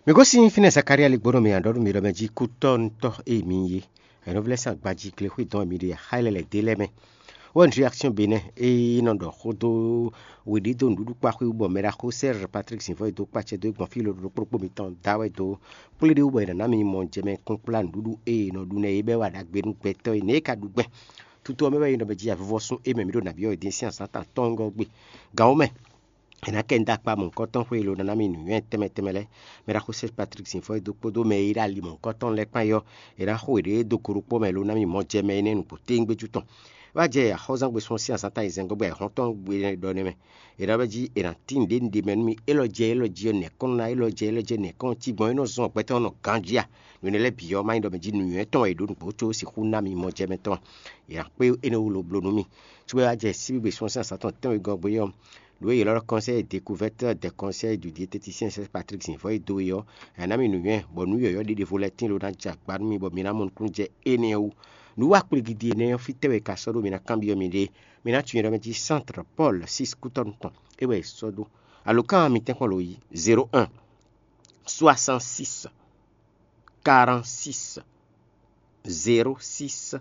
Mi gosín fínɛ́ Zakalía ligbónɔ mǐ a ɖɔ nú mi ɖɔ mɛ jí kútɔ́nutɔ́ e mi nyí é. Ɛnɔvlɛ́ sín agbají glexwé dɔn e mi ɖe axá lɛ́ lɛ̌ dé lɛ́ɛ mɛ. Wɛn réaction Bénin e nɔ ɖɔ xó dó weɖídó nǔɖuɖu kpá xwé wú bɔ mɛɖaxó Serge Patrick Zǐnvɔ́ e dó kpacɛ dó é gbɔn fí lododó kplɔ́kpó mitɔn da wɛ dó kplé ɖé wú bɔ è nǎ ná mi mɔ jɛ mɛ kún kplá nǔɖuɖu e è nɔ ɖu nɛ́ é bɛ́ wa ɖagbe nú gbɛtɔ́ e nɛ́ é ka ɖu gbɛn. Tutu ɔ́ mɛ wɛ è nɔ bɛ jí avivɔ́sún é mɛ mǐ ɖo nǎ byɔ́ wɛ din sín azǎn tɔn atɔ́ɔ́ngɔ́ gbe. Gǎn ɔ́ mɛ, è nǎ kɛ nda kpa mɔ̌hunkɔtɔn xwé e lo ná ná mì nǔnywɛ́ tɛnmɛ tɛnmɛ lɛ́ɛ. Mɛ ɖaxó Serge Patrick Zǐnvɔ́ e dó kpódó mɛ e ɖo ali mɔ̌hunkɔtɔn lɛ́ɛ kpán é ɔ́, è nǎ xo yěɖée dó go ɖokpó mɛ lo ná mì mɔ jɛ mɛ énɛ́ nǔgbó téwúngbéjú tɔn. É wá jɛ axɔ́zán gbesún sín azǎn ta ayizɛ́n gɔ́ bɔ ayǐhɔ́ntɔn gbe ɖɔ nɛ́ mɛ. È nǎ ɖɔ jí è nǎ tín nǔɖé nǔɖé mɛ nú mi, élɔ́ jɛ élɔ́ jí ɔ́, nɛ̌ kɔn ná élɔ́ jɛ élɔ́ jɛ nɛ̌ kɔn cí gbɔn é nɔ zɔn gbɛtɔ́ nɔ ganjí a? Nǔ énɛ́ lɛ́ɛ bǐ ɔ́, má nyí ɖɔ mɛ jí nǔnywɛ́ tɔn wɛ è ɖǒ nǔgbó có sixú ná mi mɔ jɛ mɛ tɔn a? È nǎ kpé énɛ́ wú lo bló nú mì. Cóbɔ é wá jɛ síbígbe sɔ́ sín azǎn tɔn tɛ́nwegɔ́ gbe ɔ́, nǔ e yě lɔ ɖɔ conseil découverte des conseils du diététicien Serge Patrick Zǐnvɔ́ e dó é ɔ́, è nǎ mi nǔnywɛ́, bɔ nǔ yɔ̌yɔ́ ɖé ɖěvo lɛ́ɛ tíin lo ná jɛ agba nú mi bɔ mi ná mɔ nukúnnú jɛ énɛ́ ɔ́ wú. Nǔ wa kplé gidi énɛ́ ɔ́, fítɛ́ wɛ è ka sɔ́ ɖó mi ná kanbyɔ́ mi ɖe? Mi ná tunwun yɛ ɖɔ mɛ jí Centre Paul six Kútɔ́nú tɔn, é wɛ è sɔ́ dó. Alǒkan mitɛ́nkpɔ́n lo yi zéro un soixante-six quarante-six zéro six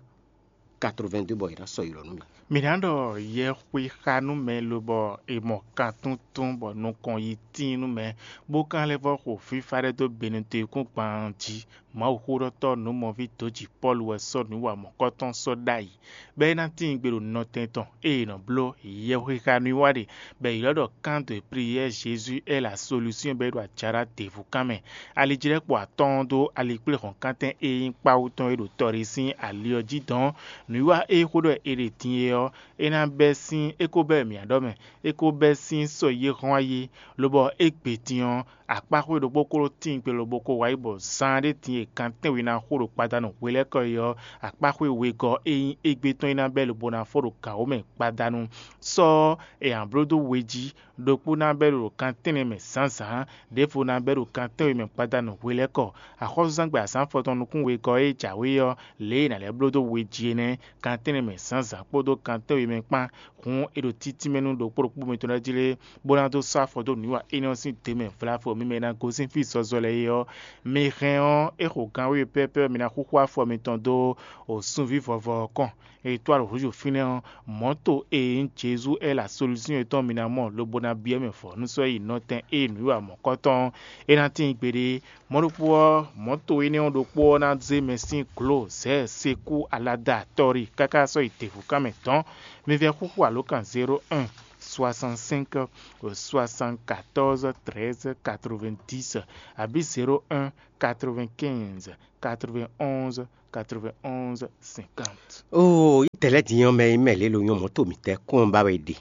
quatre-vingt-deux bɔ è nǎ sɔ́ yi lɔ nú mi. Mǐ ná ɖɔ yɛxwe xa nú mɛ lobɔ è mɔ kan túntún bɔ nukɔn yi tíin nú mɛ, bó ka lɛ́ vɔ́ xo fífá ɖé dó Benɛtɔ́ kún gban jí. Mawuxóɖɔtɔ́ nǔmɔví dǒ jǐ Pɔ́lu wɛ sɔ́ nǔ wa mɔ̌kɔ́tɔn sɔ́ ɖ'ayǐ, bɔ é ná tíin gbe ɖo nɔtɛn tɔn e è nɔ bló yɛhwexa nú i wá ɖe, bɔ è ylɔ́ ɖɔ Camp de prière Jésus est la solution bɔ é ɖo ajaɖá devu kan mɛ. Alijlɛ́kpo atɔ́ɔ́n dó alikpléhɔ̌nkántɛn e nyí kpáwú tɔn e ɖo tɔ ɖé sín ali ɔ́ jí dɔn. Nǔwiwa e xó ɖɔ è ɖe din é ɔ́, é ná bɛ́ sín é ko bɛ́ mǐ ɖɔ mɛ, é ko bɛ́ sín sɔ yi e hɔn ayé, lobɔ é gbe din ɔ́, akpáxwé ɖokpó kó ɖó tíin gbe lobo ko wá yi bɔ zaan ɖé din e kan tɛ́nwe ná xo ɖo gbadanu hwelɛ́kɔ é ɔ́, akpáxwé wegɔ́ e nyí égbé tɔn é ná bɛ́ lobo ná fó ɖo gǎn wǒ mɛ gbadanu. Sɔ́ ɔ́, è nǎ bló dó we jí. Ɖokpó ná bɛ́ ɖo kan tɛ́nnɛ mɛ zǎnzǎn, ɖěvo ná bɛ́ ɖo kan tɛ́nwe mɛ gbadanu hwelɛ́kɔ. Axɔ́súzán gbe azǎn afɔtɔn nukún wegɔ́ e jǎwe ɔ́, lě e è nǎ lɛ́ bló dó we jí é nɛ́, kan tɛ́nnɛ mɛ zǎnzǎn kpódó kan tɛ́nwe mɛ kpán. Hǔn é ɖo títínmɛ nú ɖokpó ɖokpó mitɔn lɛ́ɛ jí lé, bó ná dó sɔ́ afɔ dó nǔwiwa énɛ́ ɔ́ sín dě mɛ vlavo mímɛ́ e ná gosín fí zɔzɔ lɛ́ɛ é ɔ́, mi hɛn ɔ́, é xo gan wěwe pɛ́pɛ́ ɔ́, mi ná xúxú afɔ mitɔn dó o sunví vɔvɔ ɔ́ kɔn. È tɔ́ alɔ hǔzú fínɛ́ ɔ́, mɔ̌to e nyí Jezu Ɛ́la solúsyɔn yětɔn mi ná mɔ lobo ná byɔ́ mɛ vɔ̌ nú sɔ́ yi nɔtɛn e nǔwiwa mɔ̌kɔtɔn ɔ́, é ná tíin gbeɖé. Mɔ̌ ɖokpó ɔ́, mɔ̌to énɛ́ ɔ́ ɖokpó ɔ́ ná zé mɛ sín glo zɛ̌ sekú alada tɔ́ri káká sɔ́ yi devu kán mɛ dɔ̌n. Mi vɛ́ xúxú alǒkan zéro un soixante-cinq soixante-quatorze treize quatre-vingt-dix abǐ zéro un quatre-vingt-quinze quatre-vingt-onze quatre-vingt-onze cinquante. Oo, yi tɛlɛ din ɔ́ mɛ yi mɛ lě lo nyɔ́ mɔ̌ to mǐtɛ́ kún ɔ́ ba wɛ è ɖe.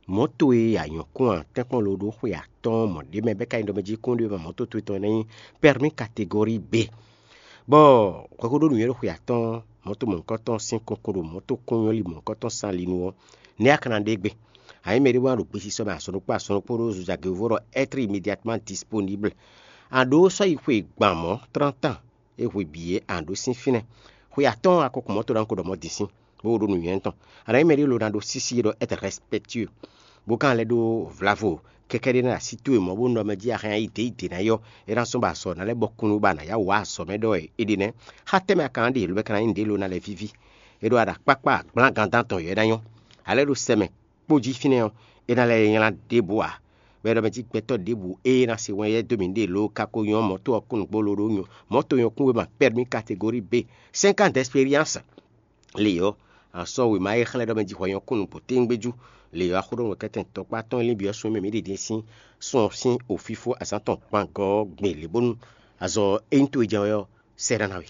Mɔ̌ to e a nyɔ̌ kún ǎ tɛ́nkpɔ́n lo ɖó xwe atɔ́ɔ́n mɔ̌ ɖé mɛ bɛ́ ka nyí ɖɔ mɛ jí kún ɖé mɛ mɔ̌ to towe tɔn é ná nyí permis catégorie B. Bɔ hwɛxóɖó nǔnywɛ́ ɖo xwe atɔ́ɔ́n mɔ̌ to mɔ̌hunkɔtɔn sín kunkun ɖo mɔ̌ to kún nyɔ́ li mɔ̌hunkɔtɔn sán li nu ɔ́, nɛ̌ a ka ná ɖe gbe? A nyǐ mɛ ɖé wá ɖo gbesisɔ mɛ azɔn ɖokpó azɔn ɖokpó ɖó zozagěvó ɖɔ être immédiatement disponible. A ɖǒ sɔ́ yi xwe gban mɔ̌ trente ans é hwe bǐ é a ɖǒ sín fínɛ́. Xwe atɔ́ɔ́n a ko kun mɔ̌ to ná ko ɖɔ mɔ̌ din sín, bó ɖó nǔnywɛ́ tɔn. A nǎ nyí mɛ ɖé lo ná ɖó sísí ɖɔ être respectueux, bó ka lɛ́ ɖó vlavo kɛkɛ́ ɖé ná así towe mɔ̌ bó nɔ mɛ jí a hɛn ayi dě yi dě ná yɔ, é ná sɔ́ ba azɔ̌ ná lɛ́ bɔ kunu ba nǎ yá wǎ azɔ̌ mɛ ɖɔ é ɖe nɛ́. Xá tɛ́ mɛ a ka ná ɖe lǒ bɔ é ka ná nyí nǔɖé lo ná lɛ́ víví. É ɖó aɖa kpákpá gblán gandán tɔn yɔ é ná nyɔ́. A lɛ́ ɖo sɛ mɛ kpó jí fínɛ́ ɔ́, é ná lɛ́ nylá ɖěbǔ ǎ. Bɔ é ɖɔ mɛ jí gbɛtɔ́ ɖěbǔ ée ná se wɛn yɛ dó mǐ ɖe lǒ ka ko nyɔ́ mɔ̌ to ɔ́ kún nǔgbó ló ɖó nyɔ mɔ̌ to nyɔ́ kún wěma permis catégorie B, cinq ans d'expérience. Le ɔ́, a sɔ́ wěma e xlɛ́ ɖɔ mɛ jí hwɛ nyɔ́ kún nǔgbó téńgbéjú. Le ɔ́, axó ɖo nǔkɛtɛn tɔkpá tɔn e lín byɔ́ sun e mɛ mǐ ɖe din sín sun ɔ́ sín ofífó azǎn tɔn kpangɔ́ ɔ́ gbě lě bónú azɔ̌ e nyí towe jɛ wɛ ɔ́ sɛ́ ɖɔ ná we.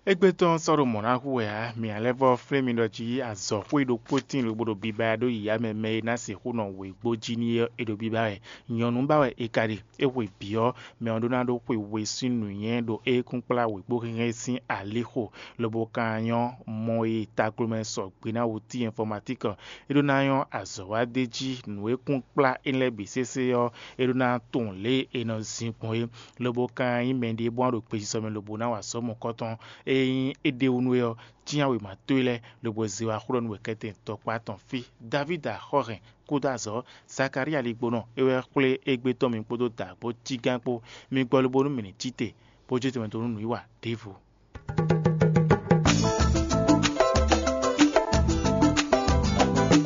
Égbé tɔn sɔ́ ɖo mɔ̌ ná hu wɛ ǎ, mǐ ná lɛ́ vɔ́ flín mi ɖɔ jí azɔ̌xwé ɖokpó tíin lobo ɖo biba ɖó yǐyá mɛ mɛ e ná sixú nɔ wěgbó jí n'i é ɖo biba wɛ. Nyɔ̌nu ba wɛ è ka ɖe. É hwe bǐ ɔ́, mɛ ɔ́ ɖó ná ɖó xwe we sín nǔnywɛ́ ɖo ékúnkplá wěgbóhɛnhɛn sín alixo, lobo ka nyɔ́ mɔ e taglomɛ sɔgbe ná wú cí ɛnfɔmatík ɔ́. É ɖó ná nyɔ́ azɔ̌ wa d'é jí nǔ e kún kplá énɛ́ lɛ́ɛ bǐ sésé ɔ́, é ɖó ná tunwun lě e è nɔ zin gbɔn é, lobo ka nyí mɛɖé bó ná ɖo gbesisɔ mɛ lobo ná wa azɔ̌ mɔ̌kɔtɔn. Ényí é ɖ'é wú nú we ɔ́, cyán wěma towe lɛ́ɛ lobo zé wá xlɔ́ nú wɛ kɛ́tɛn tɔkpá tɔn fí. Davídi axɔ́hɛn kúdó azɔ̌, Zakalía ligbónɔ é wɛ xwlé égbé tɔn mi kpódó dǎgbó cígán kpó. Mi gbɔ lobo nú mǐ ní cí te, bó jó tɛnmɛ dó nú nǔwiwa ɖěvo.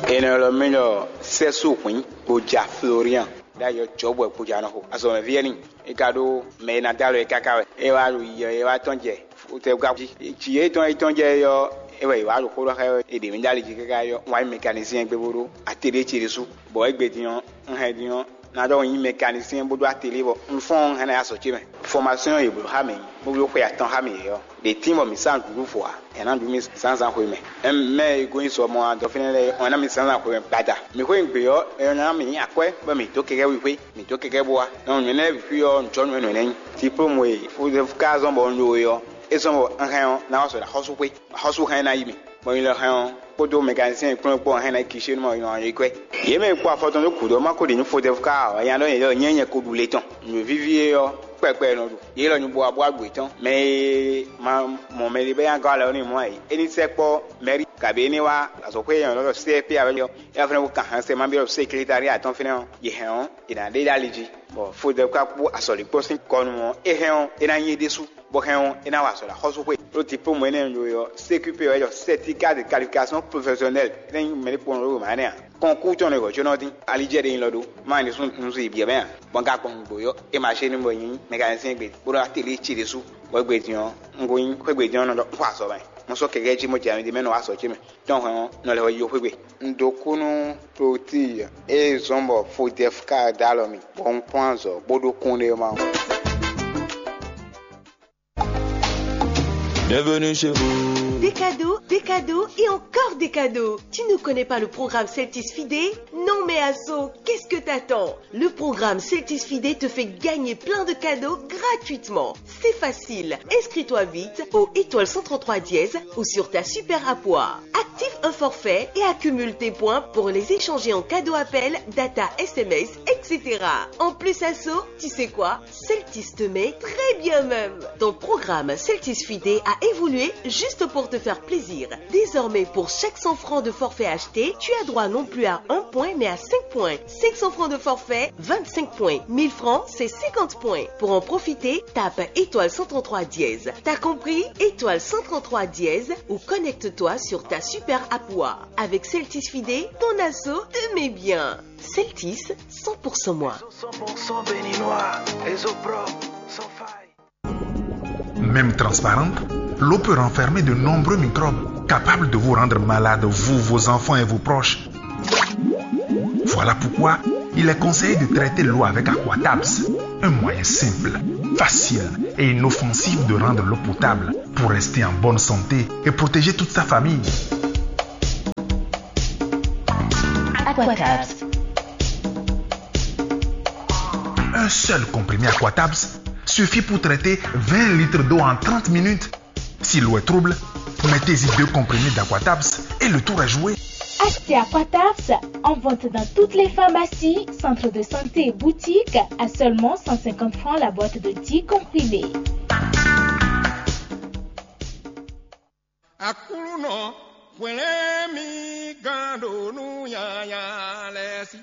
È nɔ ylɔ́ mì ɖɔ Sɛ́sú Hwǐn Gboja Florian, ɖ'ayǐ ɔ́ Jɔ̌bwɛ Gboja nɔ xo. Azɔ̌mɛví wɛ n'i. É ka ɖó mɛ e ná dó alɔ ɛ káká wɛ. É wá ɖo yiyɔ é wá tɔ́n jɛ fotɛ́wúká jí. Jǐ e tɔn é tɔ́n jɛ é ɔ́, é wɛ è wá ɖo xó ɖɔ xá ɛ wɛ. È ɖě mì ɖó ali jí káká ɔ́, un wá nyí mɛkanisíɛn gbe bó ɖó atelier ce ɖésú. Bɔ égbé din ɔ́, un hɛn din ɔ́, ná ɖɔ un nyí mɛkanisíɛn bó ɖó atelier bɔ un fɔ́n ɔ́, un hɛn ná yi azɔ̌ ce mɛ. Fɔmasɔ́n e è blǒ xá mǐ, bó bló xwe atɔn xá mǐ é ɔ́, ɖě tín bɔ mǐ sa nǔɖuɖu fɔ ǎ. Ɛ ná ɖu mì zǎnzǎn xwemɛ. Mɛ e gosín sɔ mɔ adɔ fínɛ́ lɛ́ɛ, ɔ́ ná mì zǎnzǎn xwemɛ gbada. Mǐ xwé gbe ɔ́, é ná mì nyí akwɛ́ bɔ mǐ dó kɛkɛ́ wixwé, mǐ dó kɛkɛ́ bó wá. Nɔ nyɔ̌nu lɛ́ɛ bǐ xwí ɔ́, un jɔ nǔ nú yě. Diplôme e ka zɔ́n bɔ un ɖo é ɔ́, é zɔ́n bɔ un hɛn ɔ́, ná wá sɔ ɖo axɔ́súxwé, axɔ́sú hɛn ná yi mì. Bɔ nyɛ lɔ hɛn ɔ́, kpódó mɛkanisíɛn kplɔ́n kpó hɛn ná yi Kinshénu mɔ nyɛ kɔ ɛ. Yě mɛ e kpó afɔ tɔn dó gǔdo ɔ́, má ko ɖi nǔ fo dɛfu ká ǎ, nya ɖɔ nyɛ ɖɔ nyɛ nyɛ ko ɖu le tɔn. Nǔ víví é ɔ́, kpɛkpɛ nɔ ɖu. Yě lɔ nyibú abú aɖu yětɔn. Mɛ e ma mɔ mɛɖé bɔ é nya gɔ́ alɔ n'i mɔ̌ ǎ é, é ní sɛkpɔ́ mɛ̌ri, kabǐ é ní wá azɔ̌xwé e è nɔ ylɔ́ ɖɔ C F P ǎ wɛ ɔ́, é wá fɛ́nɛ́ kó kan hɛn sɛ ma byɔ́ seklétari atɔn fínɛ́ ɔ́, yě hɛn ɔ́, è nǎ ɖe ɖó ali jí, bɔ Fodɛ́ ka kpó azɔ̌likpɔ́ sín kɔ nu ɔ́, é hɛn ɔ́, é ná nyí é ɖésú, bɔ hɛn ɔ́, é ná wa azɔ̌ ɖo axɔ́súxwé. Ɖó diplômu énɛ́ e un ɖó é ɔ́, C Q P wɛ é ɖɔ, certificat de qualification professionnelle, é ná nyí mɛ ɖé kpɔ́n ɖó wěma énɛ́ ǎ. Kɔnkú tɔn ɖo hwɛ̌ có nɔ dín, ali jɛ ɖe nyi lɔ ɖó, má nyí ɖésú un si bǐ ɛ mɛ ǎ. Bɔ un ka gbɔn nǔgbó ɔ́, é ma ṣe nú bɔ nyí mɛkanisɛn gbe, bó ɖó atelier ce ɖésú, bɔ égbé din ɔ́, un ko nyí xwé gbe din ɔ́ nɔ ɖɔ un xɔ azɔ̌ mɛ. Mo sɔ́ kɛkɛ́ jí mo jɛ ami ɖé mɛ nɔ wá azɔ̌ ce mɛ. Tɔn hwɛn ɔ́, nɔ lɛ́ wɛ yi xwé gbe. Un ɖo kú nú Clotilde e zɔ́n bɔ Fodɛfka dó alɔ mì, bɔ un kplɔ́n azɔ̌ bó ɖó kúnɖéma ɔ́. Bienvenue chez vous. Picadou. Des cadeaux et encore des cadeaux. Tu ne connais pas le programme Celtis Fidé? Non mais Asso, qu'est-ce que t'attends? Le programme Celtis Fidé te fait gagner plein de cadeaux gratuitement. C'est facile. Inscris-toi vite au étoile cent trente-trois dièse ou sur ta super app. Active un forfait et accumule tes points pour les échanger en cadeau appel, data, S M S, et cetera. En plus, Asso, tu sais quoi? Celtis te met très bien même. Ton programme Celtis Fidé a évolué juste pour te faire plaisir. Désormais, pour chaque cent francs de forfait acheté, tu as droit non plus à un point, mais à cinq points. Cinq cents francs de forfait, vingt-cinq points. Mille francs, c'est cinquante points. Pour en profiter, tape étoile cent trente-trois dièse. T'as compris? Étoile cent trente-trois dièse ou connecte-toi sur ta super app. Avec Celtis Fidé, ton Asso te met bien. Celtis, cent pour cent moi. Cent pour cent béninois, réseau propre, sans faille. Même transparente, l'eau peut renfermer de nombreux microbes capables de vous rendre malade, vous, vos enfants et vos proches. Voilà pourquoi il est conseillé de traiter l'eau avec Aquatabs. Un moyen simple, facile et inoffensif de rendre l'eau potable pour rester en bonne santé et protéger toute sa famille. Aquatabs. Un seul comprimé Aquatabs suffit pour traiter vingt litres d'eau en trente minutes. Si l'eau est trouble, mettez-y deux comprimés d'Aquatabs et le tour est joué. Achetez Aquatabs en vente dans toutes les pharmacies, centres de santé et boutiques à seulement cent cinquante francs la boîte de dix comprimés. Aklúnɔ, hwlɛ́n mì gán ɖo nú nyanya lɛ́ɛ sí.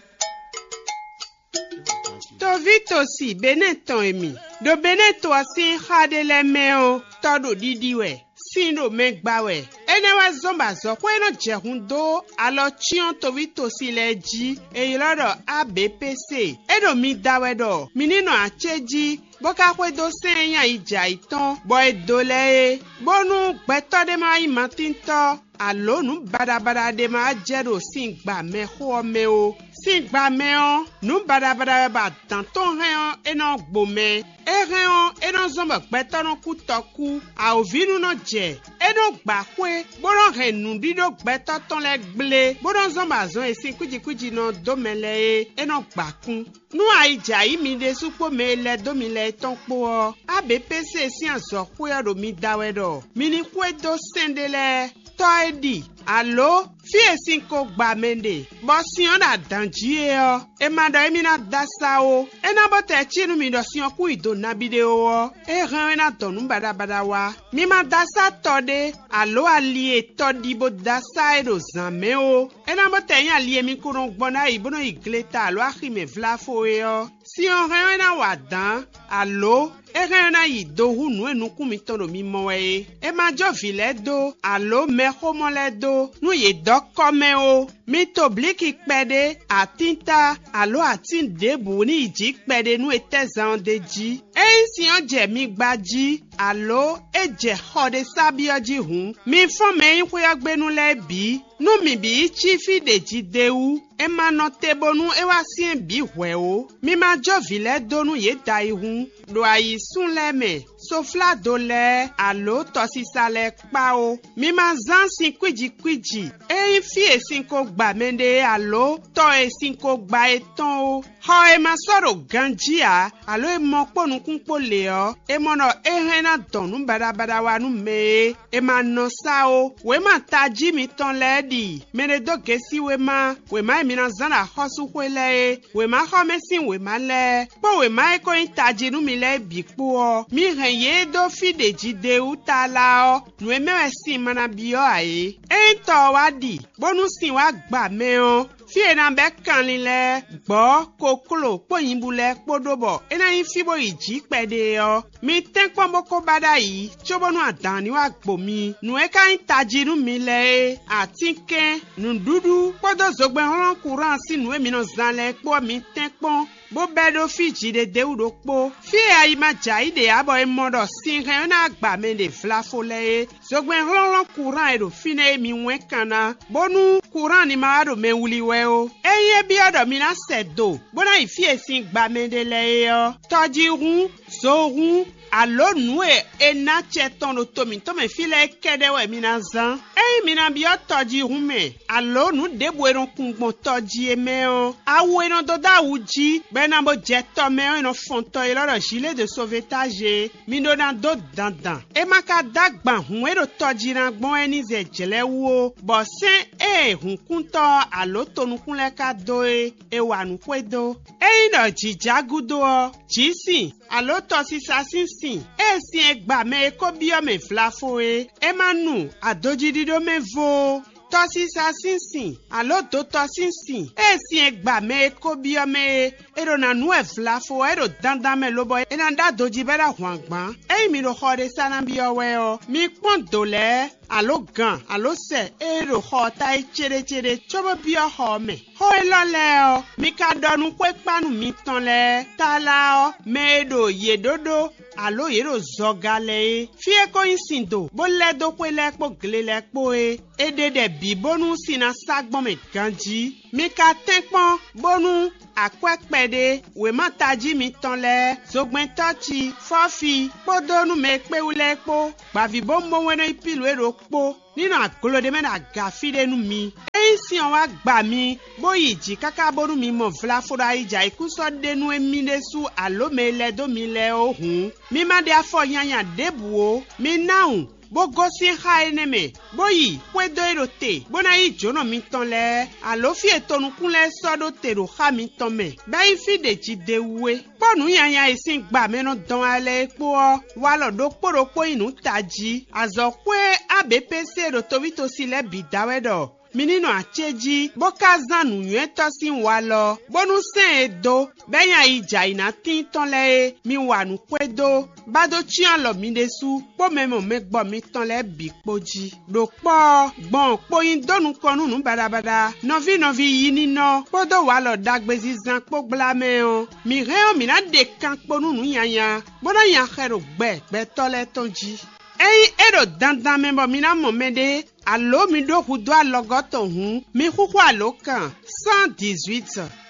Toví tosi Benɛ́ tɔn e mi ɖo Benɛ́ to ɔ́ sín xá ɖé lɛ́ɛ mɛ ɔ́, tɔ́ ɖo ɖiɖi wɛ, sin ɖo mɛ gba wɛ. Énɛ́ wɛ zɔ́n bɔ azɔ̌xwé e nɔ jɛ hun dó alɔ cyɔ́n toví tosi lɛ́ɛ jí, è ylɔ́ ɖɔ A B P C. É ɖo mi da wɛ ɖɔ mi ní nɔ acéjí, bó ka xwedó sɛ́n e nyí ayijɛ ayǐtɔn, bɔ è dǒ lɛ́ɛ é, bónú gbɛtɔ́ ɖé ma wá nyí matíntɔ́, alǒ nǔ baɖabaɖa ɖé ma wá jɛ ɖo sin gba mɛxó ɔ́ mɛ ó. Sin gba mɛ ɔ́, nǔ baɖabaɖa wɛ bɔ adǎn tɔn hɛn ɔ́, é nɔ gbo mɛ. É hɛn ɔ́, é nɔ zɔ́n bɔ gbɛtɔ́ nɔ kú tɔkú. Awǒvi nú nɔ jɛ, é nɔ gba xwé, bó nɔ hɛn nǔɖíɖó gbɛtɔ́ tɔn lɛ́ɛ gblé, bó nɔ zɔ́n bɔ azɔn e sin kwíji kwíji nɔ dó mɛ lɛ́ɛ é, é nɔ gba kún. Nú ayi jɛ ayǐ mi ɖésú kpó mɛ e lɛ́ dó mi lɛ́ɛ tɔn kpó ɔ́, A B P C sín azɔ̌xwé ɔ́ ɖo mi da wɛ ɖɔ mi ní xwedó sɛ́n ɖé lɛ́ɛ. Tɔ́ e ɖi, alǒ fí e sin ko gba mɛ ɖe, bɔ sin ɔ́ ɖo adǎn jí é ɔ́, è ma ɖɔ émí ná dó asá ó. É ná bó tɛ cí nú mi ɖɔ sin ɔ́ kún yi do nabí ɖé ó ɔ́, é hɛn ɔ́ é ná dɔn nǔ baɖabaɖa wá. Mi ma dó asá tɔ ɖé, alǒ ali e tɔ ɖi bó dó asá é ɖo zǎn mɛ ó. É ná bó tɛ nyí ali e mi ko nɔ gbɔn ɖ'ayǐ bó nɔ yi gleta alǒ axi mɛ vláfo é ɔ́. Sin ɔ́ hɛn ɔ́ é ná wa dǎn, alǒ é hɛn ɔ́ é ná yi do hú nǔ e nukún mitɔn ɖo mi mɔ wɛ é. È ma jó vǐ lɛ́ɛ dó, alǒ mɛxómɔ lɛ́ɛ dó, nú yě dɔ́ kɔ́ mɛ ó. Mi to blǐki kpɛɖé, atínta, alǒ atín ɖěbǔ ní yi jǐ kpɛɖé nú è tɛ́ zan ɔ́ d'é jí. Ényí sin ɔ́ jɛ mi gba jí, alǒ é jɛ xɔ ɖé sá byɔ́ jí hǔn, mi fɔ́n mɛ e nyí xwé ɔ́ gbe nú lɛ́ɛ bǐ, nú mǐ bǐ yi cí fí ɖě jí d'é wú. È ma nɔ te bónú é wá syɛ́n bǐ hwɛ̌ ó. Mi ma jó vǐ lɛ́ɛ dó nú yě da yi hǔn, ɖo ayǐsún lɛ́ɛ mɛ, sofládo lɛ́ɛ, alǒ tɔsisa lɛ́ɛ kpá ó. Mi ma zán sin kwíji kwíji, é nyí fí e sin ko gba mɛɖé alǒ tɔ e sin ko gba é tɔn ó. Xɔ e ma sɔ́ ɖo ganjí ǎ, alǒ e mɔ kpó nukún kpó lě ɔ́, è mɔ ɖɔ é hɛn ná dɔn nǔ baɖabaɖa wá nú mɛ é. È ma nɔ sá ó. Wěma tají mitɔn lɛ́ɛ ɖi mɛ ɖé dó gěsí wěma, wěma e mi ná zán ɖo axɔ́súxwé lɛ́ɛ é, wěmaxɔmɛ sín wěma lɛ́ɛ, kpó wěma e ko nyí tají nú mi lɛ́ɛ bǐ kpó ɔ́, mi hɛn yě dó fí ɖě jí d'é wú tlala ɔ́, nǔ e mɛ wɛ sin ma ná byɔ́ ǎ é. Ényí tɔ ɔ́ wá ɖi, bónú sin wá gba mɛ ɔ́, fí e è nǎ bɛ́ kanlin lɛ́ɛ, gbɔ̌, kokló kpó nyibú lɛ́ɛ kpó ɖó bɔ é ná nyí fí bó yi jǐ kpɛɖé ɔ́, mi tɛ́nkpɔ́n bó ko ba ɖ'ayǐ, cóbónú adǎn ní wá gbo mi. Nǔ e ka nyí tají nú mi lɛ́ɛ é, atínkɛn, nǔɖuɖu kpódó zogbɛ́nhlɔ́n kuráan sín nǔ e mi nɔ zán lɛ́ɛ kpó ɔ́, mi tɛ́nkpɔ́n, bó bɛ́ ɖó fí jǐɖédéwú ɖokpó. Fí e ayi ma jɛ ayǐ ɖe ǎ bɔ è mɔ ɖɔ sin hɛn ɔ́ ná gba mɛ ɖě vlafo lɛ́ɛ é. Zogbɛ́n hlɔ́nhlɔ́n kuráan e ɖo fínɛ́ é mi wɛ́n kan ná, bónú kuráan ní ma wá ɖo mɛ wlí wɛ ó. Ényí é byɔ́ ɖɔ mi ná sɛ do, bó ná yi fí e sin gba mɛ ɖe lɛ́ɛ é ɔ́, tɔjíhún, zohún, Alo nǔ e è ná acɛ tɔn ɖo to mǐtɔn mɛ fí lɛ́ɛ kɛ́ɖɛ́ wɛ mi ná zán. Ényí mi ná byɔ́ tɔjíhún mɛ, alo nǔ ɖěbǔ e nɔ kun gbɔn tɔ jí é mɛ ɔ́, awu e nɔ dó dó awu jí, bɔ è nǎ bó jɛ tɔ mɛ ɔ́, è nɔ fɔn tɔ élɔ́ ɖɔ zǐlé de sovetáze é. Mi ɖó ná dó dandan. É ma ka dó agban hǔn e ɖo tɔ jí ná gbɔn wɛ ní zɛ jlɛ̌ wú ó, bɔ sɛ́n e hǔnkúntɔ́ ɔ́ alo tonukún lɛ́ɛ ka dó é, è wa nǔ xwedó. Ényí ɖɔ jǐ já gúdo ɔ́, jǐ sin, alo tɔsisa sín sin, ée sin e gba mɛ e ko byɔ́ mɛ vlafo é, é ma nu adojíɖíɖó mɛ vo ó. Tɔsisa sín sin, alo dotɔ sín sin, ée sin e gba mɛ e ko byɔ́ mɛ é, è ɖo ná nu wɛ vlafo ɔ́, é ɖo dandan mɛ lobɔ é ná ɖó adojí bɔ é ná hwan gbǎn. Ényí mi ɖo xɔ ɖé sa ná byɔ́ wɛ ɔ́, mi kpɔ́n dǒ lɛ́ɛ, alo gan, alo sɛ e ɖo xɔ ɔ́ ta é céɖécéɖé cóbó byɔ́ xɔ ɔ́ mɛ. Xó élɔ́ lɛ́ɛ ɔ́, mi ka ɖɔ nú xwékpánu mitɔn lɛ́ɛ tlala ɔ́, mɛ e ɖo yě ɖó ɖó, alo yě ɖo zɔga lɛ́ɛ é. Fí e ko nyí sin do, bó lɛ́ dó xwé lɛ́ɛ kpó gle lɛ́ɛ kpó é, è ɖe ɖɛ bǐ bónú sin ná sá gbɔn mɛ ganjí. Mi ka tɛ́nkpɔ́n bónú akwɛ́ kpɛɖé, wěma tají mitɔn lɛ́ɛ, zogbɛ́ntɔ́ ci, fɔ́fi, kpódó nú mɛ e kpé wú lɛ́ɛ kpó, gbǎvíbówúnbówún e nɔ nyí Pilu é ɖokpó, ní nɔ aglo ɖé mɛ ɖo aga fí ɖé nú mi. Ényí sin ɔ́ wá gba mi, bó yi jǐ káká bónú mi mɔ vlafo ɖo ayijǎyíkúsɔ ɖé nú émí ɖésú alo mɛ e lɛ́ dó mi lɛ́ɛ ó hǔn, mi ma ɖe afɔ nyanya ɖěbǔ ó. Mi ná wun, bó gosín xá énɛ́ mɛ, bó yi xwedó e ɖo te, bó ná yí jǒnɔ mitɔn lɛ́ɛ, alo fí e tonukún lɛ́ɛ sɔ́ ɖó te ɖo xá mitɔn mɛ, bɔ é nyí fí ɖě jí d'é wú é. Kpó nǔ nyanya e sín gba mɛ nɔ dɔn wá lɛ́ɛ é kpó ɔ́, walɔ ɖokpó ɖokpó nyí nǔ tají. Azɔ̌xwé A B P C ɖo tovítosi lɛ́ɛ bǐ da wɛ ɖɔ mi ní nɔ acéjí, bó ka zán nǔnywɛ́tɔ́ sín walɔ, bónú sɛ́n e dó, bɔ é nyí ayi jɛ ayǐ ná tíin tɔn lɛ́ɛ é, mi wa nǔ xwedó, bá dó cyɔ́n alɔ mi ɖésú kpó mɛ mɔ mɛ gbɔ mitɔn lɛ́ɛ bǐ kpó jí. Ɖo kpɔ́ ɔ́, gbɔn kpo nyi dó nukɔn nú nǔ baɖabaɖa, nɔví nɔví yi nínɔ kpódó walɔ ɖagbezinzan kpó gbla mɛ ɔ́, mǐ hɛn ɔ́, mǐ ná ɖe kan kpo nú nǔ nyanya, bó ná nya xɛ ɖo gbɛ gbɛtɔ́ lɛ́ɛ tɔn jí. Ényí é ɖo dandan mɛ bɔ mi ná mɔ mɛɖé, alo mi ɖó hudó alɔgɔ́ tɔn hǔn, mi xúxú alǒkan cent dix-huit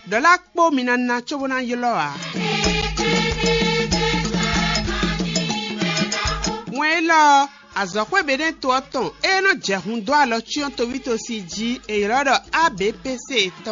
ɖɔ̌la kpó mi ná ná cóbó ná ylɔ́ ǎ. Wɛn élɔ́ ɔ́, azɔ̌xwé Beɖɛ́ɛn to ɔ́ tɔn e nɔ jɛ hun dó alɔ cyɔ́n tovítosi jí è ylɔ́ ɖɔ A B P C tɔn.